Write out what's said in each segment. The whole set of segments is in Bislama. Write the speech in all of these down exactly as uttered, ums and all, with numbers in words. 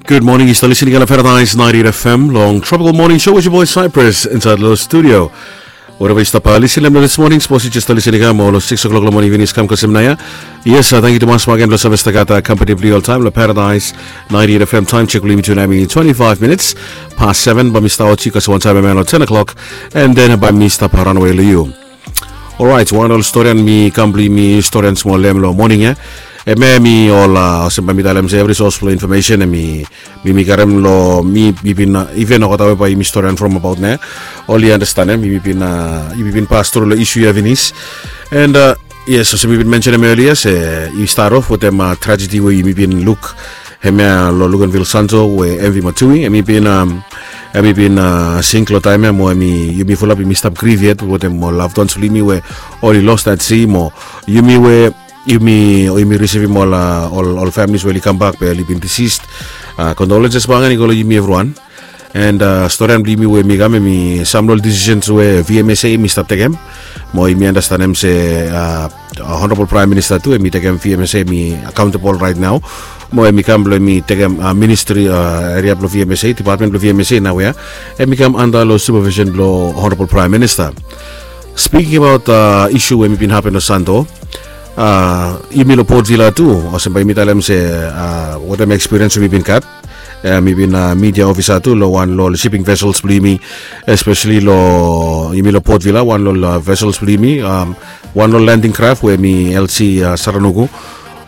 Gud moning, yu stap lisin i kam long Paradise ninety-eight F M long Tropical Morning Show with your boy Cyprus inside long studio. Whatever yu stap lisin long this morning, sapos yu just lisin i kam long six o'clock long morning, finis kam kasem nao ia. Yes, uh, thank you tumas bakegen blong save stap gat uh, company blong yu oltaem long Paradise ninety-eight F M. Time check blong yumi tu nao i twenty-five minutes past seven. Bae mi stap oti kasem wantaem long ten o'clock, and then bae mi stap raon we long yu. Orait, wan ol storian mi kam blong yumi storian smol long hem long moning ia. Hemia hemi ol, uh, olsem bae mi talem se evri sos blong infomesen hemi mi mi karem long mi mi bin, uh, iven olgeta we bae yumi storian from abaot nao, oli andastanem mi mi bin, uh, yumi bin pas tru long isu ia finis. And uh, yes, olsem mi bin mensenem elia se i stat of wetem, uh, tragedi we yumi bin luk hemia long Luganville Santo we M V Matui hemi bin, um, hemi bin, uh, sink long taem ia mo hemi yumi fulap yumi stap grif yet wetem ol loved ones blong yumi we oli los that sea mo yumi we yumi o yumi risivim ol, uh, ol, ol families we oli kambak be oli bin deceased. Uh, condolences bakegen i go long yumi evriwan. And uh, storian blong yumi we mi kam hemi sam long ol decisions we V M S A hemi stap tekem mo yumi andastanem se, uh, Honorable Prime Minister tu hemi tekem V M S A hemi accountable right now. Mo hemi kam blong hemi tekem, uh, ministry, uh, eria blong V M S A, department blong V M S A naoia hemi kam anda long supervision blong Honorable Prime Minister. Speaking about, uh, isu we hemi bin hapen long Santo, uh, yumi long Port Vila tu, olsem bae yumi talem se, uh, wetem experience we yumi bin gat, uh, mi bin, uh, media officer tu long wan long ol shipping vessels blong yumi, especially long yumi long Port Vila, wan long ol, uh, vessels blong yumi, um, wan long ol landing craft we hemi L C, uh, Saranuku.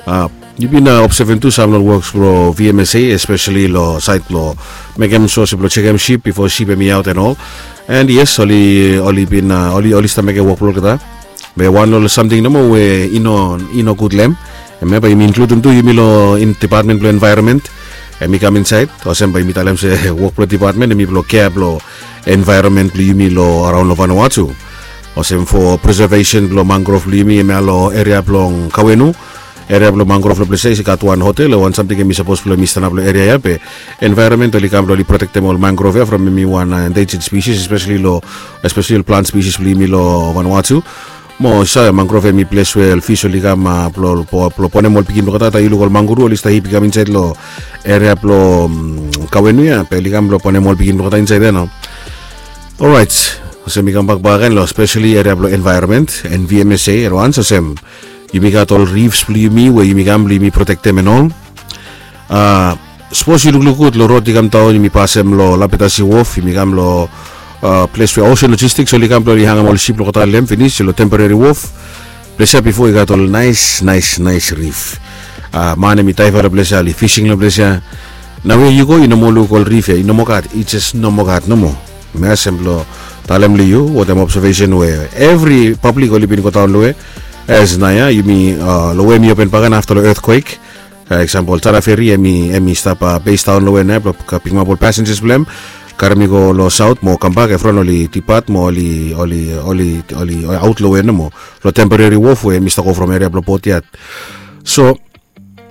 Uh, yumi bin, uh, observem tu sam long ol works blong V M S A, especially long sait blong mekem sua se blong jekem ship bifo ship hemi aot and all. And yes, oli, oli bin, uh, oli, oli stap mekem wok blong olgeta. Be wan long ol samting nomo we i no, i no gud long hem. Hemia bae yumi inkludim tu yumi long department blong envaeronmen. Hemi kam insaed, olsem bae yumi talem se wok blong department hemi blong kea blong envaeronmen blong yumi long araon long Vanuatu. Olsem fo presevesen blong mangrove blong yumi hemia long eria blong Kawenu. Eria blong mangrove long ples ia i gat wan hotel o wan samting hemi sapos blong hemi stanap long eria ia be envaeronmen oli kam blong oli protektem ol mangrove ia from hemi wan, uh, endangered species, especially long, especially ol plant species blong yumi long Vanuatu. Mo yu save mangrove hemi ples we ol fis oli kam, uh, blong, blong, blong bonem ol pikinini blong olgeta. Taem yu luk ol manguru oli stap hip i kam insaed long eria blong, mm, Kawenu ia be oli kam blong bonem ol pikinini blong olgeta insaed ia nao. Orait, olsem mi kambak bakegen long especially eria blong envaeronmen and V M S A at once, olsem yumi gat ol reefs blong yumi we yumi kam blong yumi protektem and all. Uh, sapos yu lukluk gud long rod i kam daon yumi pasem long Lapitasi Wharf, yumi kam long, uh, ples we Ocean Logistics oli kam blong oli hangem ol ship blong olgeta long hem finis long temporary wharf. Ples ia bifo i gat ol naes, naes, naes reef. Uh, man hemi daeva long ples ia, oli fising long ples ia. Naoia yu go i no moa luk ol reef ia, i no moa gat, i jes no moa gat nomo. Mi olsem blong talem long yu wetem observation we evri pablik oli bin godaon long we as naoia yumi, uh, long we hemi open bakegen afta long earthquake. Uh, eksampol Tara Ferry hemi, hemi stap, uh, base daon long we naoia blong, uh, pikimap ol passengers blong hem, karem i go long saot mo kambak, evriwan oli dipat mo oli, oli, oli, oli aot long we nomo long temporary wharf we hemi stap go from eria blong Port ia. So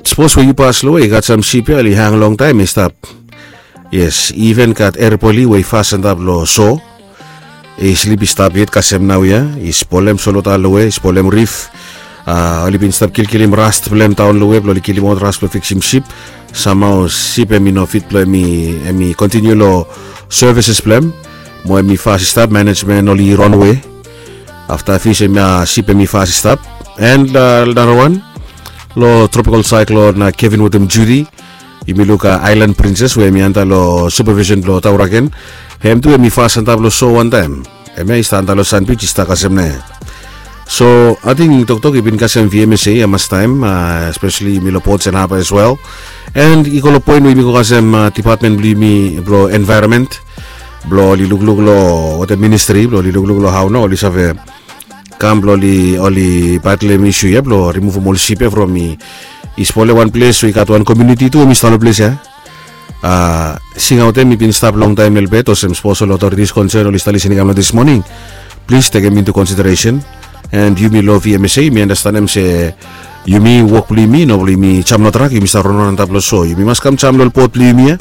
sapos we yu pas long we i gat sam sip ia oli hang longtaem i stap. Yes, i even gat erpoli we i fas antap long so. I slip i stap yet kasem naoia, i spolem solota long we, i spolem rif. Uh, oli bin stap kilkilim rast blong hem daon long we blong oli kilim aot rast blong fiksim sip. Samhao sip hemi no fit blong hemi, hemi kontiniu long services blong hem. Mo hemi fas i stap, management oli ran we. Afta fis hemi, uh, sip hemi fas i stap. And, uh, narawan long tropical cyclone, uh, Kevin wetem Judy, yumi luk, uh, Island Princess we hemi anda long supervision blong Tauraken. Hem tu hemi fas antap long so wantaem. Hemia i stap anda long sand beach i stap kasem naoia. So ating toktok i bin kasem V M S A ia mastaem, uh, especially yumi long Ports and Harbour as well. And i go long poen we yumi go kasem, uh, department blong yumi blong envaeronmen blong oli lukluk long wetem ministri blong oli lukluk long hao nao oli save kam blong oli, oli batlem isu ia blong rimuvum ol sip ia from i, i spolem wan ples we i gat wan komuniti tu hemi stap long ples ia. Uh, singaot hem i bin stap longtaem helbet, olsem sapos ol otoritis konsen oli stap lisin i kam long this morning, plis tekem into consideration. And yumi long V M S A yumi andastanem se yumi wok blong yumi no blong yumi jam long trak yumi stap ronron antap long so. Yumi mas kam jam long ol bot blong yumi ia.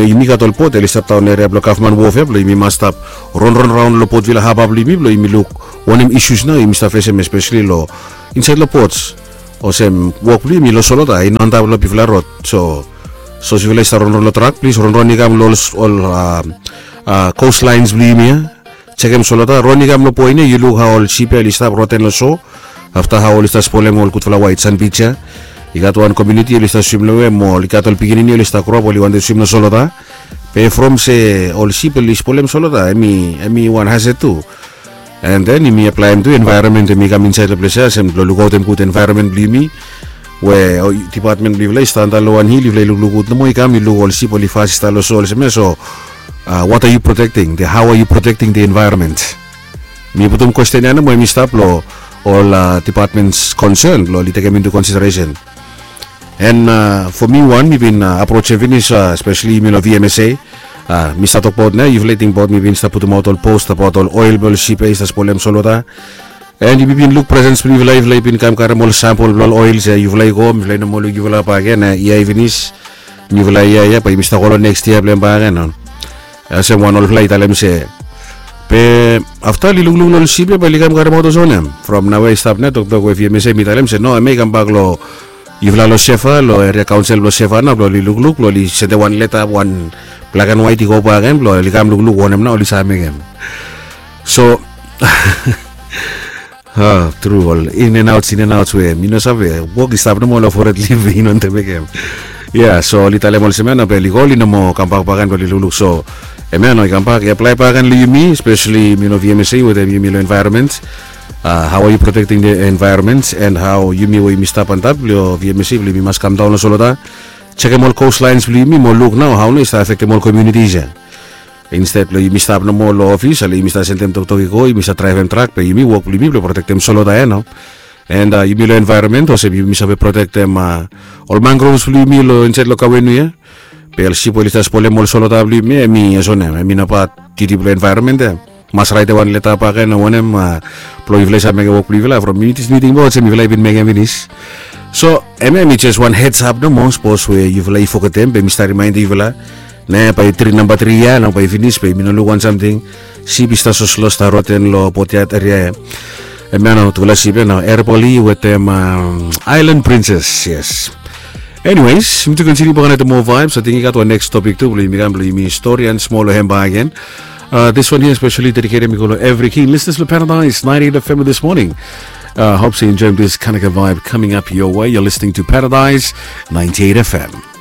Yumi gat ol bot oli stap daon eria blong gavman wof ia blong yumi mas stap ronron raon long Port Vila haba blong yumi blong yumi luk wanem isus nao yumi stap fesem espeseli long insaed long bots. Olsem wok blong yumi long solota i no antap long bigfala rod. So Sapos yufala i stap ronron long trak, plis ronron i kam long ol coast lines blong yumi ya. Sekem solota, ron i kam long poen ya, yu luk hao ol sip ya oli stap roten long so. Afta hao oli stap spolem ol gudfala waet san bij ya. I gat wan komuniti oli stap swim long we mo oli gat ol pikinini oli stap groap oli wantem swim long solota. Be from se ol sip oli spolem solota, em i wan hazet tu. And then yumi aplaem tu envaeronmen, yumi kam insaed long ples ya olsem blong lukaotem gud envaeronmen blong yumi. We dipatmen blong yufala i stap antap long wan hil, yufala i lukluk gud nomo, i kam i luk ol sip oli fas i stap long so olsem ya. So what are you protecting? How are you protecting the environment? Mi putum kwesten ya nomo, em i stap long ol dipatmens konsen blong oli tekem intu konsideresen. And for mi wan, mi bin aprojem finis, espeseli yumi long V M S A. Mi stap tokbaot nao, yufala i tingbaot mi bin stap putumaot ol post abaot ol oel blong ol sip ya i stap spolem solota. And yumi bin luk presens blong yufala, yufala i bin kam karem ol sampol blong ol oels ya, yufala i go, mifala i no moa luk yufala bakegen. Ia i finis, niufala yia ya bae yumi stap go long neks yia blong hem bakegen. Olsem wan olfala i talem se, be afta oli lukluk long ol sip ya bae oli kam karemaot olsem wanem? From naoia i stap nao toktok we V M S A mi talem se no, hemia i kambak long yufala long Sefa, long eria kaonsel blong Sefa nao blong oli lukluk, blong oli sendem wan leta, wan blak and waet i go bakegen blong oli kam lukluk wanem nao oli save mekem. So tru, ol in and outs, in and outs we mi no save, wok i stap nomo long fored lif we i no wantem mekem. Ya, so oli talem olsem ya nao be oli go, oli no moa kambak bakegen blong oli lukluk. So hemia nao i kambak i aplae bakegen long yumi, espeseli yumi long V M S A wetem yumi long envaeronmen. How are you protecting the environment and how yumi we yumi stap antap long V M S A blong yumi mas kamdaon long solota, sekem ol coast lines blong yumi mo luk nao hao nao i stap afektem ol komunitis ya. Insted blong yumi stap nomo long ofis, ale yumi stap sendem toktok i go, yumi stap draevem trak, be yumi wok blong yumi blong protektem solota ya nao. And yumi long envaeronmen olsem yumi save protektem ol mangrovs blong yumi long insaed long Kauenu ya. Be ol sip we oli stap spolem ol solota blong yumi, hemi olsem wanem? Hemi no pat diuti blong envaeronmen ya. Mas raetem wan leta bakegen o wanem blong yufala i save mekem wok blong yufala. From mi, mi tingbaot olsem yufala i bin mekem finis. So hemia hemi jes wan heads up nomo, sapos we yufala i fogetem, be mi stap rimaendem yufala. Ne bae tri, namba tri ya nao bae i finis be yumi no luk wan samting. Sip i stap soslo, stap roten long Boatyaad eria ya. Hemia nao tufala sip ya nao, Erepoli wetem Island Princess. Yes. Anyways, yumi tu kontiniu bakegen wetem moa vibes. Ating i gat wan neks topik tu blong yumi kam blong yumi storian smol long hem bakegen. This one here especially dedicated mi go long evri king listeners blong Paradise ninety-eight F M this morning. Hope you enjoying this Kanaka vibe coming up your way. You're listening to Paradise ninety-eight F M.